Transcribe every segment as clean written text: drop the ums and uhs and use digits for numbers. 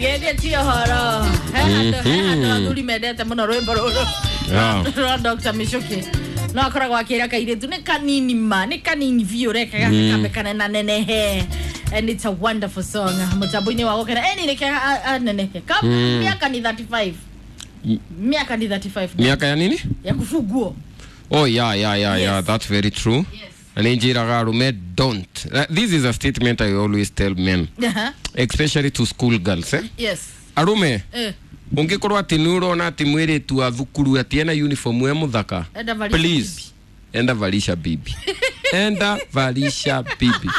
Ngethi ti ũhoro. He handũ athuri mendete mũno rwĩmbo rũrũ rwa Dr. Michuki. No akoragwo akĩra kairĩtu nĩ kanini ma, nĩ kanini biũ, reke gaka kambe kanenanenehe. And it's a wonderful song. Mũtambo-inĩ wa gũkena. Eni reke anenehe. Miaka ni 35. Miaka ni 35. Miaka ya nini? Ya kufugwo. Oh yeah, Yes. that's very true. Yes. Na nĩ njĩraga arũme don't. This is a statement I always tell men, especially to school girls, eh? Yes. Arũme, Eh. ũngĩkorwo atĩ nĩ ũrona atĩ mwĩrĩtu wa thukuru atĩ ena uniform e mũthaka, Enda valisha. please, enda valisha bibi. Enda valisha bibi.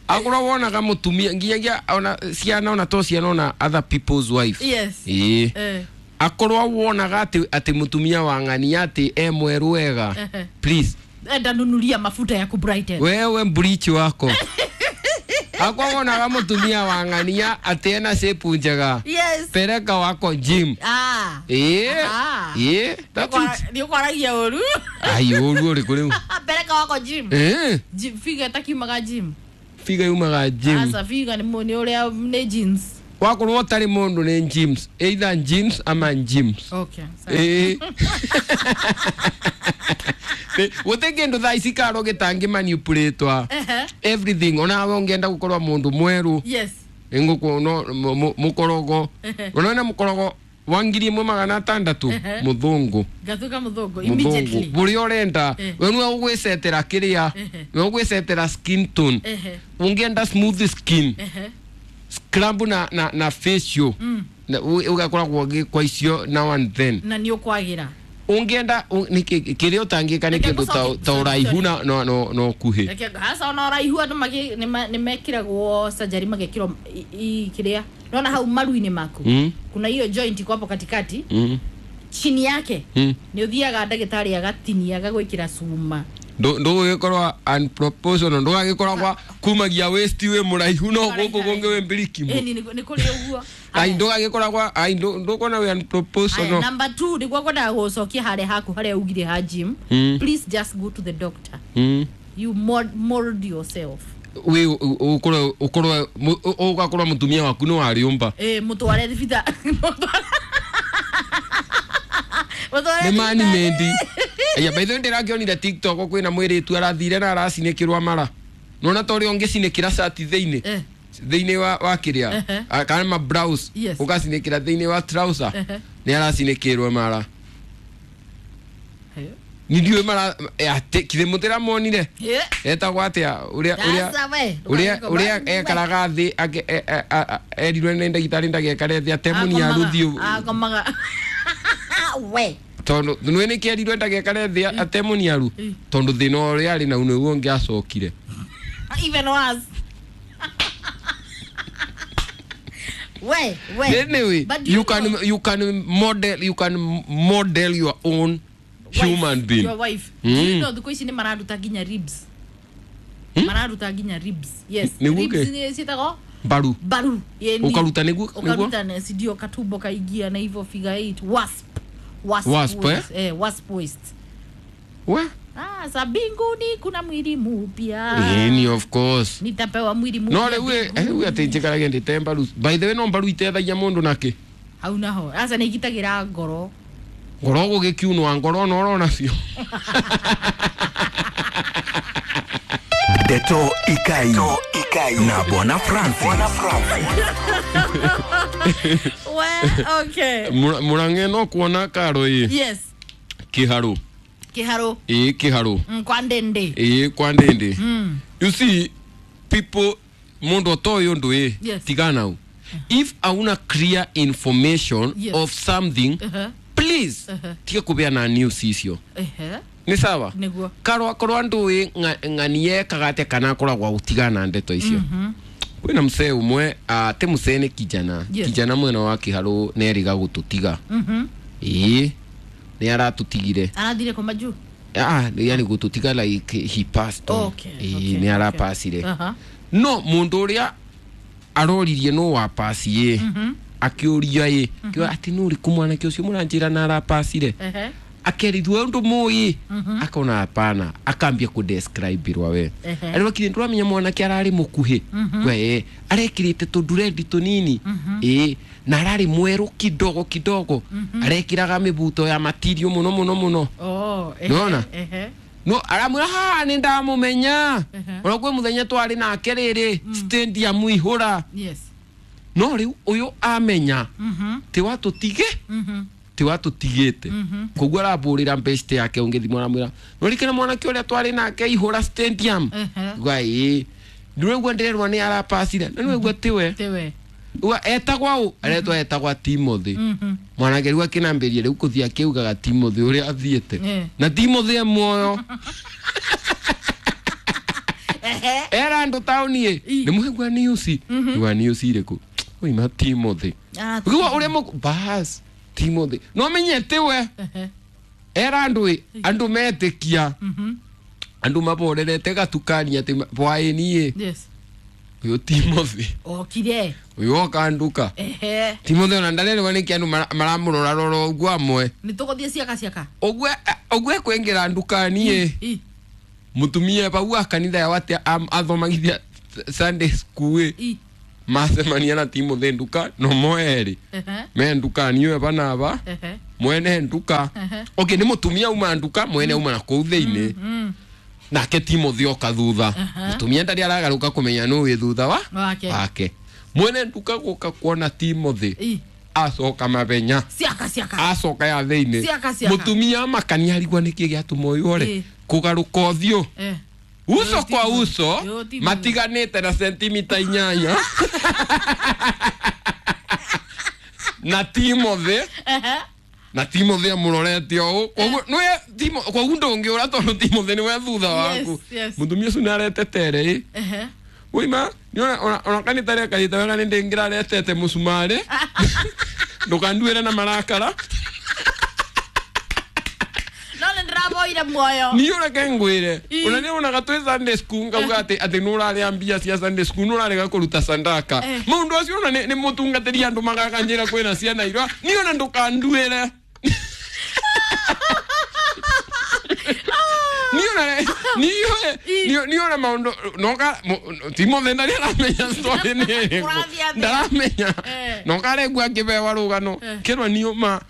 Akorwo wonaga mũtumia nginyagia ona ciana, ona to ciana, ona other people's wife. Yes. Ĩĩ. Eh. Akorwo wonaga atĩ mũtumia wa ng'ania atĩ e mwerũ wega, please, Enda nunulia mafuta ya kubrighten. wewe bleach wako. Akorwo wonaga mũtumia wa ng'ania atĩ ena shape njega, Yes. pereka wako gym. Ah. Ĩĩ. Ah. Ĩĩ, that's it. Nĩ ũkwaragia ũru. Ai, ũru ũrĩkũ rĩu? Pereka wako gym. Ĩĩ. Gym figa ĩtakiumaga gym. Figa yumaga gym. Asa figa nĩ ũrĩa nĩ jeans. Wakorwo ũtarĩ mũndũ nĩ gyms, either gyms ama gyms. Okay. Sawa. Ĩĩ. Gũtirĩ kĩndũ thaa ici karo gĩtangĩ manipulatwa. Ehe. Everything, onawe ũngĩenda gũkorwo mũndũ mwerũ, Yes. nĩngũkuona mũkorogo, ũnona mũkorogo wa 1600, mũthũngũ. Gathuka mũthũngũ Mũthũngũ immediately. bũrĩa ũrenda. Eh. We nĩwe ũgwĩcetera kĩrĩa, nĩwe ũgwĩcetera skin tone. Ehe. Ũngĩenda smooth skin, Ehe. scrub na facial, na ũgakoragwo ũgĩkwa icio now and then. Na nĩ ũkwagĩra. Ũngĩenda kĩrĩa ũtangĩka nĩ Reke kĩndũ ta sorry, ũraihu sorry. na ũkuhĩ. Reke hasa ona ũraihu andũ nĩ mekĩragwo surgery magekĩrwo kĩrĩa. Naona hau maru-inĩ maku. Kuna hiyo joint iko hapo katikati. Chini yake. Nĩ ũthiaga ndagĩtarĩ agatinia agagwĩkĩra cuma. Ndũgũgĩkorwo unproportional, ndũgagĩkorwo gwa kumagia waist wĩ mũraihu no gũkũ kũngĩ wĩ mbirikimo. Ĩni nĩ kũrĩ ũguo. Ai, ndũgagĩkorwo gwa ai ndũkona wĩ Aya, unproportional. number 2 nĩguo ngwendaga gũcokia harĩa haku harĩa ugire ha gym. Please just go to the doctor. You mold yourself. Wĩ ũkorwo ũgakorwo mũtumia waku nĩ warĩũmba. Eh, mũtware thibitarĩ. Mũtware Nĩ mani thibitarĩ. mendi. Aya, by the way, ndĩrakĩonire TikTok kwĩna mwĩrĩtu arathire na aracinĩkĩrwa mara. Nona ta ũrĩa ũngĩcinĩkĩra cati thĩinĩ. Eh. Thĩinĩ wa kĩrĩa, kana ma blouse, Yes. ũgacinĩkĩra thĩinĩ wa trouser, nĩ aracinĩkĩrwo mara. Ni ndiũĩ mara atĩ kithĩ mũtĩramonire. Eh. Etagwo atĩa ũrĩa ũrĩa Sasa we, ũrĩa ndũgagĩko- ũrĩa ekaraga thĩ erirwe nĩ ndagĩtarĩ ndagekare thĩ atemũnia rũthiũ. Akomaga. We. Tondũ nĩ nĩkĩ erirwe ndagekare thĩ atemũniaru? Tondũ thĩna ũrĩa arĩ nau nĩguo ũngĩ acokire. Even worse. We, we. Anyway, But do you you can know- you can model your own human Wife, being. your wife. Do you know thikũ ici nĩ mararuta nginya ribs? Mararuta nginya ribs. Yes. Nĩguo Ribs kĩ? nĩ ciĩtagwo Mbaru. mbaru. Ĩni. Ũkaruta nĩguo nĩguo Ũkaruta na sindio katumbo kaingia na hivyo figure 8 wasp. Wasp, Wasp, waist. Eh, wasp waist. We? Ah, sa mbinguni kuna mwili mpya. Ĩni, of course. Nitapewa mwili mpya. No rĩu rĩu atĩ njĩkarage ndĩte mbaru. By the way, no mbaru itethagia mũndũ nakĩ? Hau naho. Asa nĩ igitagĩra ngoro. Ngoro gũgĩkiunwa ngoro no ũrona biũ. Ndeto Ikai. Na Bwana Francis. We, okay. Mũrang'e no kuona karo ĩ. Yes. Kĩharũ. Kĩharũ. Ĩ kĩharũ. Kwa ndende. Ĩ kwa ndĩndĩ. You see, people, mũndũ ũtoĩ ũndũ ĩ, Yes. tigana if auna clear information Yes. of something, please tiga kũbeana news icio. Ehe. Nĩ sawa. Nĩguo. Karwa akorwo andũ ĩ ng'ani ekaga atĩa kana akoragwo gũtigana ndeto icio. Kwĩna msee ũmwe, ti msee, nĩ kijana. Yes. Kijana mwena wa kĩharũ nĩ erĩga gũtũtiga. Ĩĩ, nĩ aratũtigire. Arathire kuma juu. Ah, yani gũtũtiga like he passed on. Okay, Ĩĩ, nĩ arapacire. Aha. No mũndũ ũrĩa aroririe no wapasi ĩ, akĩũria ĩ, kĩo atĩ nũ ũrĩkũ mwanake ũcio mũranjĩra na arapacire? Ehe. Akerithwo undu moi akona hapana, akambia kudescribe irwa we. Ehe. Ari wakire nduramenya mwanake arari mukuhi we, arekirite tundurendi tunini ĩ, na arari mweru kidogo kidogo, arekiraga mibuto ya matirio muno muno muno. Oh, ehe, Nĩwona? Ehe. No aramwira haha nĩ ndamũmenya, Ehe. ona kwĩ mũthenya twarĩ nake rĩrĩ stadium ihũra. Yes. No rĩu ũyũ amenya Mhm. ti watũtige, Mhm. ti watũtigĩte, koguo arambũrĩra best yake ũngĩthimũ, aramwĩra norikana mwanake ũrĩa twarĩ nake ihũra stadium. Ehe. Gwa ĩ, ndũraigua ndĩrerwo nĩ arapacire na nĩwaigua tiwe. Tiwe. Uga etagwa ũ, aretwa etagwa Timothy. Mhm. Mwanake rĩu akĩnambĩria rĩu kũthiĩ akĩugaga Timothy ũrĩa athiĩte. Eh. Na Timothy e muoyo. Ehe. Era andũ taũni ĩ, I. nĩ mũhegua news, igua news irĩkũ oima Timothy. Ah, Ukiwa ũrĩa mũkũ bas Timothy no menye tiwe. Ehe. Era andũ ĩ, andũ metĩkia, Mhm. andũ maborerete gatukani atĩ bwaĩni ĩ, Yes. ũyũ Timothy Okire. ũyũ oka nduka. Ehe. Timothy ona ndarerwo nĩkĩ andũ maramũrora rora ũguo amwe. Nĩ tũgũthiĩ ciaka ciaka. Ũguo ũguo ekwĩngĩra ndukani ĩ, I. mũtumia bau wa kanitha yao atĩ athomagithia Sunday school ĩ, I. macemania na Timothy nduka no moerĩ Ehe. me ndukani ĩyo banaba Ehe. mwene nduka. Ehe. Okay, nĩ mũtumia uma nduka, mwene uma na kũu thĩinĩ, Mm. nake Timothy oka thutha. Mũtumia ndarĩ aragarũka kũmenya nũ wĩ thutha wa Wake. wake. Mwene nduka gũka kuona Timothy, I. acoka mabenya, Ciaka ciaka. acoka ya thĩinĩ. Ciaka, ciaka. Mũtumia amakania, arigwa nĩkĩ gĩatũma ũyũ ore Ĩ. kũgarũka ũthiũ Eh. uso Ũyũ kwa Timothy. uso, Ũyũ Timothy. matiganĩte na sentimita 8 na Timothy. Ehe. Na Timothy amũrorete ũũ, koguo nĩwe koguo ndũngĩũra tondũ Timothy nĩwe thutha Yes, waku. yes. Mũtumia ũcio nĩaretetere ĩ. Ehe. Ũima ona kanitha rĩakarĩte wega nĩ ndĩngĩraretete mũcumarĩ, ndũkanduĩre na marakara. No nĩ ndĩramoire muoyo. Niĩ ũreke ngwĩre, Ĩ. ona nĩ wonaga twĩ Sunday school ngauga atĩ atĩ nĩ ũrarĩa mbia cia Sunday school, nĩ ũrarega kũruta sandaka. Eh. Maũndũ acio ona nĩ mũtungatĩri andũ magakanjĩra kwĩna ciana irwa, niĩ ona ndũkanduĩre. Niĩ ona Ĩ. niĩ ona maũndũ noka Timothy ndarĩ aramenya story nĩ ĩrĩkũ. Kũrathiĩ atĩa? Ndaramenya. Eh. Noka aregua akĩbewa rũgano Eh. kĩrwa niũ ma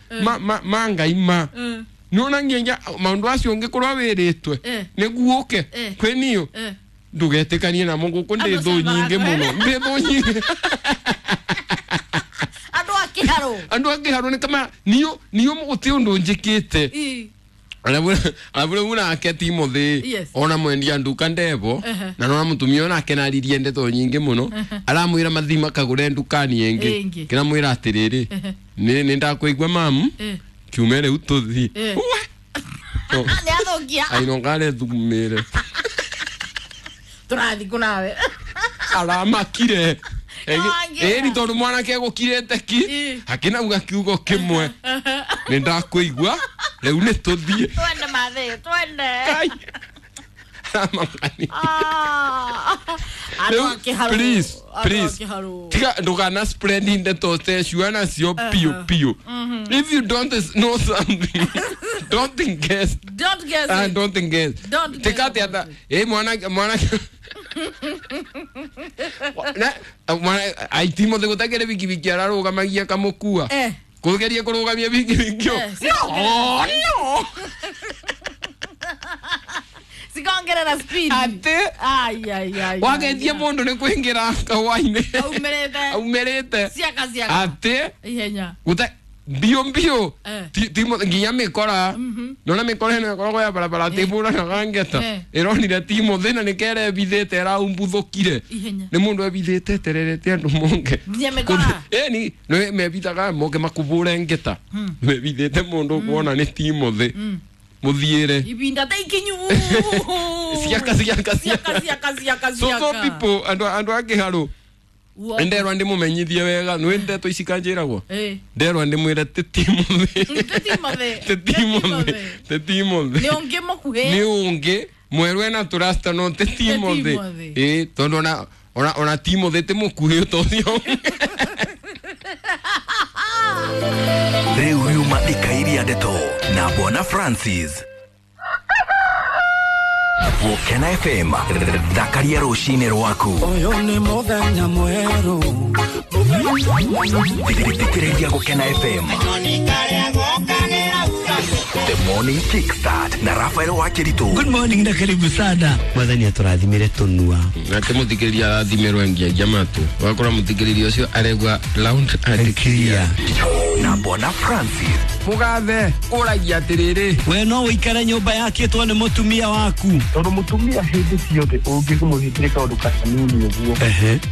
ma Ngai ma Mm. nĩwona nginya maũndũ acio ũngĩkorwo wĩrĩtwe Eh. nĩguo ũke Eh. kwĩ niũ, Eh. ndũgetĩkanie namo gũkũ ndĩ Andũ thũ acio nyingĩ mũno, ndĩ thũ nyingĩ. Andũ a kĩharũ. Andũ a kĩharũ nĩ kama niũ niũ gũtĩ ũndũ njĩkĩte. I. Arabu nake Timothy Yes. ona mwendia nduka ndebo, Ehe. na nona mũtumia onake naririe ndeto nyingĩ mũno, aramwĩra mathi makagũre ndukani ĩngĩ. Ĩngĩ. Kĩramwĩra atĩrĩrĩ, Ehe. nĩ ndakũigua mamu, Eh. kiume rĩu tũthi. Eh. Uwe. Nĩ athũkia. Ainongare thumĩre. Tũrathiĩ kũ nawe? Aramakire. Nĩwangĩra. Ĩni tondũ mwanake egũkirĩte ki, Ĩ. akĩnauga kiugo kĩmwe, nĩ ndakũigua rĩu nĩ tũthiĩ. Twende mathĩ, twende. Kai. Aramakani. Ah. Andũ a Rĩu, kĩharũ. please, Andũ a please. kĩharũ. Tiga ndũkana spread ndeto tecio nacio piũ piũ. If you don't know something, don't guess. Don't guess Ah, it. don't guess. Don't guess Tika atĩ about ata ĩ mwana mwana na mwana ai Timothy gũtakĩrĩ bikibiki ararũgamagia kamũkua, Eh. kũgeria kũrũgamia bikibiki Eh, no no. Cikongerera speed. Atĩ Ai ai ai. wageithia mũndũ nĩ kũingĩra kawainĩ Aumĩrĩte. aumĩrĩte. Ciaka ciaka. Atĩ Ihenya. gũte mbio mbio. Eh. Timothy nginya mĩkora, nona mĩkora ĩno ĩkoragwo ya barabara tĩbũranaga ngeta, Eh. ĩronire Timothy na nĩkere ebithĩte ĩraumbuthũkire. Ihenya. Nĩ mũndũ ebithĩte etererete andũ monge. Nginya mĩkora? Ĩni nĩ mebithaga moke makũbũre ngeta, mebithĩte mũndũ ũkuona nĩ Timothy mũthiĩre. Ibinda ta ikinyu. Ciaka ciaka. Ciaka Ciaka. ciaka ciaka So so ciaka. people, andũ a kĩharũ, nderwa ndĩmũmenyithie wega nĩ ndeto ici kanjĩragwo. Eh. Nderwa ndĩmwĩre ti Timothy. Ti Timothy. Ti Timothy, ti Timothy. Nĩ ũngĩ mũkuhĩ. Nĩ ũngĩ mwerũ ena tũrasta no ti Timothy. Timothy. Ĩ tondũ ona ona ona Timothy ti mũkuhĩ ta ũcio. Rĩu riuma ikairia ndeto na Bwana Francis. Gũkena FM, thakaria rũcinĩ rwaku. Ũyũ nĩ mũthenya mwerũ. Thikĩrĩria Gũkena FM. The Morning Kickstart na Rafael Wakiritu. Good morning na karibu sana. Mwathani atũrathimire tũnua. Nake muthikiriria arathimirwo ngiagia matu wakora muthikiriria ucio aregwa round and Clear. Na Bwana Francis. Mugathe uragia atiriri. We no ũikare nyũmba yakĩtwo nĩ mũtumia waku. Tondũ mũtumia hĩndĩ ciothe ũngĩmũhingĩre kaũndũ kanini ũguo,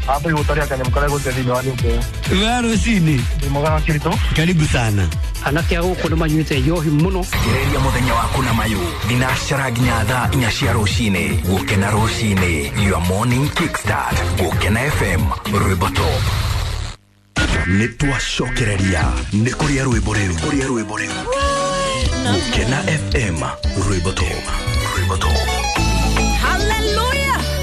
ambe gũtaria kanyamũ karĩa gũte thĩinĩ wa nyũmba ĩyo. We rũcinĩ. Ndĩ mwega Wakiritu. Karibu sana. Anake a gũkũ nĩ manyuĩte njohi mũno. Thikĩrĩria mũthenya waku na mayũ thinacara nginya thaa 4 cia rũcinĩ. Gũkena rũcinĩ, your morning kickstart. Gũkena FM, rwĩmbo top. Nĩ twacokereria nĩ kũrĩa rwĩmbo rĩu, kũrĩa rwĩmbo rĩu. Gũkena FM, rwĩmbo top, rwĩmbo top.